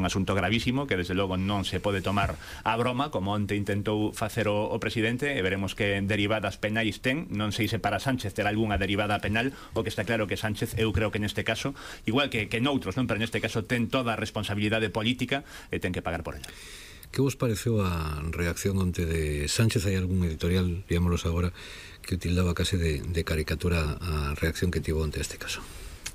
un asunto gravísimo que desde logo non se pode tomar a broma, como onte intentou facer o presidente, e veremos que derivadas penais ten. Non sei se para Sánchez terá algunha derivada penal. O que está claro que Sánchez, eu creo que neste caso, igual que noutros, non, pero neste caso ten toda a responsabilidade política e ten que pagar por ela. Que vos pareceu a reacción onte de Sánchez? Hai algún editorial, digámoslos agora, que tildaba case de caricatura a reacción que tivo onte este caso.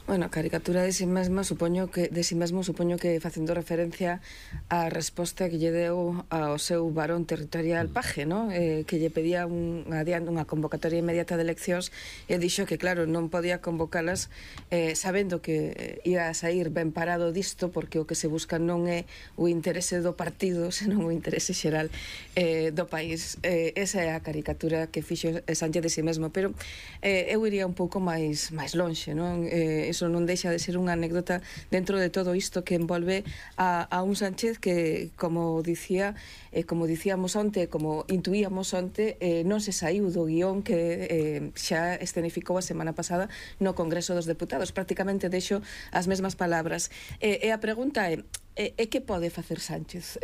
Bueno, a caricatura de si mesmo supoño que facendo referencia á resposta que lle deu ao seu varón territorial Paje, ¿no? Que lle pedía unha convocatoria inmediata de eleccións, e dixo que claro, non podía convocalas sabendo que ia a sair ben parado disto, porque o que se busca non é o interese do partido, senón o interese xeral do país. Esa é a caricatura que fixo Sánchez de si mesmo, pero eu iría un pouco máis lonxe, non? Iso non deixa de ser unha anécdota dentro de todo isto que envolve a un Sánchez que, como dicíamos onte, como intuíamos onte, non se saiu do guión que xa escenificou a semana pasada no Congreso dos Deputados. Prácticamente deixo as mesmas palabras. E a pregunta é que pode facer Sánchez?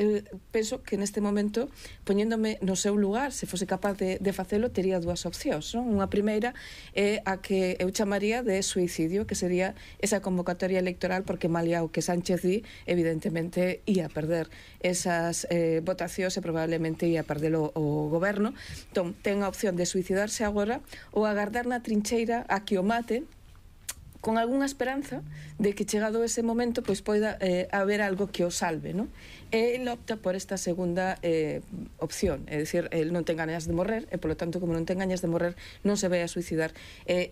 Penso que neste momento, poñéndome no seu lugar, se fose capaz de facelo, tería dúas opcións, non? Unha primeira é a que eu chamaría de suicidio, que sería esa convocatoria electoral, porque malia o que Sánchez di, evidentemente ia perder esas votacións e probablemente ia perder o goberno. Entón, ten a opción de suicidarse agora ou agardar na trincheira a que o maten, con algunha esperanza de que chegado ese momento pois poida haber algo que o salve, non? E ele opta por esta segunda opción, é dicir, ele non ten ganas de morrer e polo tanto, como non ten ganas de morrer, non se vai a suicidar.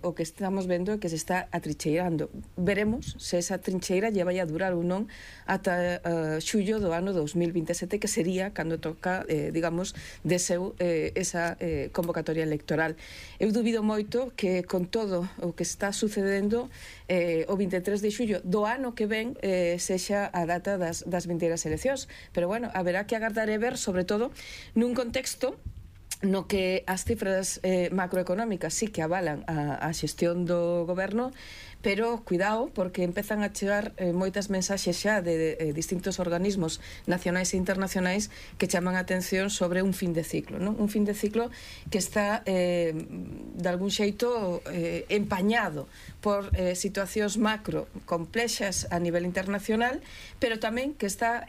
O que estamos vendo é que se está atrincheirando. Veremos se esa trincheira lle vai a durar ou non ata xullo do ano 2027, que sería cando toca, digamos, de seu esa convocatoria electoral. Eu dubido moito que con todo o que está sucedendo o 23 de xullo do ano que ven sexa a data das vindeiras eleccións, pero bueno, haberá que agardar e ver, sobre todo nun contexto no que as cifras macroeconómicas sí que avalan a xestión do goberno, pero cuidado, porque empezan a chegar moitas mensaxes xa de distintos organismos nacionais e internacionais que chaman a atención sobre un fin de ciclo, non? Un fin de ciclo que está de algún xeito empañado por situacións macro complexas a nivel internacional, pero tamén que está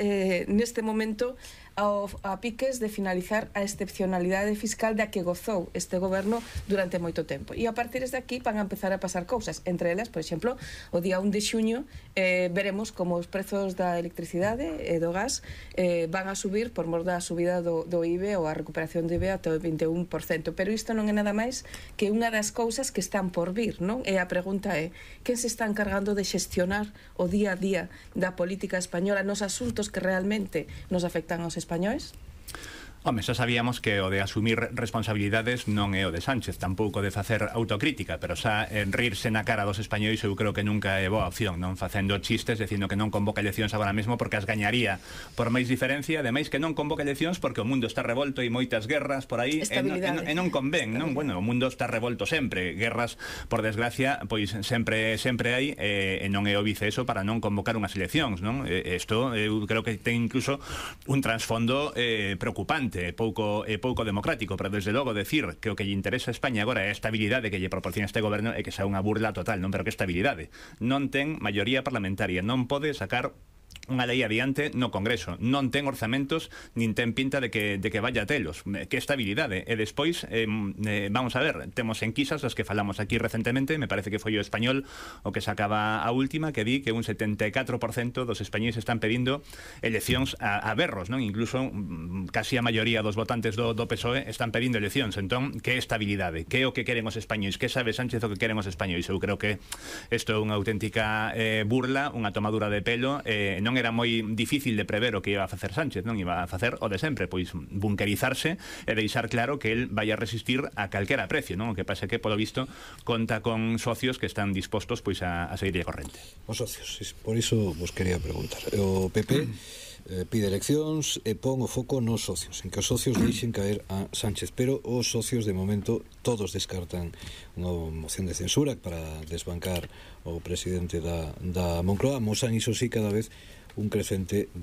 neste momento a piques de finalizar a excepcionalidade fiscal da que gozou este goberno durante moito tempo. E a partir de aquí van a empezar a pasar cousas, entre elas, por exemplo, o día 1 de xuño veremos como os prezos da electricidade e do gas van a subir por mor da subida do IBE ou a recuperación do IBE ata o 21%, pero isto non é nada máis que unha das cousas que están por vir, non? E a pregunta é, quen se está encargando de xestionar o día a día da política española nos asuntos que realmente nos afectan aos españois? Home, xa sabíamos que o de asumir responsabilidades non é o de Sánchez, tampouco de facer autocrítica, pero xa rirse na cara dos españois eu creo que nunca é boa opción, non facendo chistes dicindo que non convoca eleccións agora mesmo porque as gañaría por máis diferencia, ademais que non convoca eleccións porque o mundo está revolto e moitas guerras por aí e non convén, non? Bueno, o mundo está revolto sempre, guerras, por desgracia, pois sempre hai e non é o vice eso para non convocar unhas eleccións, non? Isto eu creo que ten incluso un trasfondo preocupante, pouco democrático, pero desde logo decir que o que lle interesa a España agora é a estabilidade que lle proporciona este goberno é que xa unha burla total, non? Pero que estabilidade? Non ten maioría parlamentaria, non pode sacar unha lei adiante no Congreso, non ten orzamentos nin ten pinta de que vaya a telos. Que estabilidade? E despois vamos a ver, temos enquisas das que falamos aquí recentemente, me parece que foi o Español o que sacaba a última, que di que un 74% dos españoles están pedindo eleccións a berros, non? Incluso casi a maioría dos votantes do PSOE están pedindo eleccións. Entón, que estabilidade? Que é o que queren os españois? Que sabe Sánchez o que queren os españois? Eu creo que isto é unha auténtica burla, unha tomadura de pelo. Non era moi difícil de prever o que iba a facer Sánchez, non? Iba a facer o de sempre, pois bunkerizarse e deixar claro que el vai a resistir a calquera precio, non? O que pasa que, polo visto, conta con socios que están dispostos pois a seguirlle corrente. Os socios, por iso vos quería preguntar. O PP pide eleccións e pon o foco nos socios, en que os socios deixen caer a Sánchez, pero os socios de momento todos descartan unha moción de censura para desbancar o presidente da Moncloa. Mosan iso sí cada vez un crecente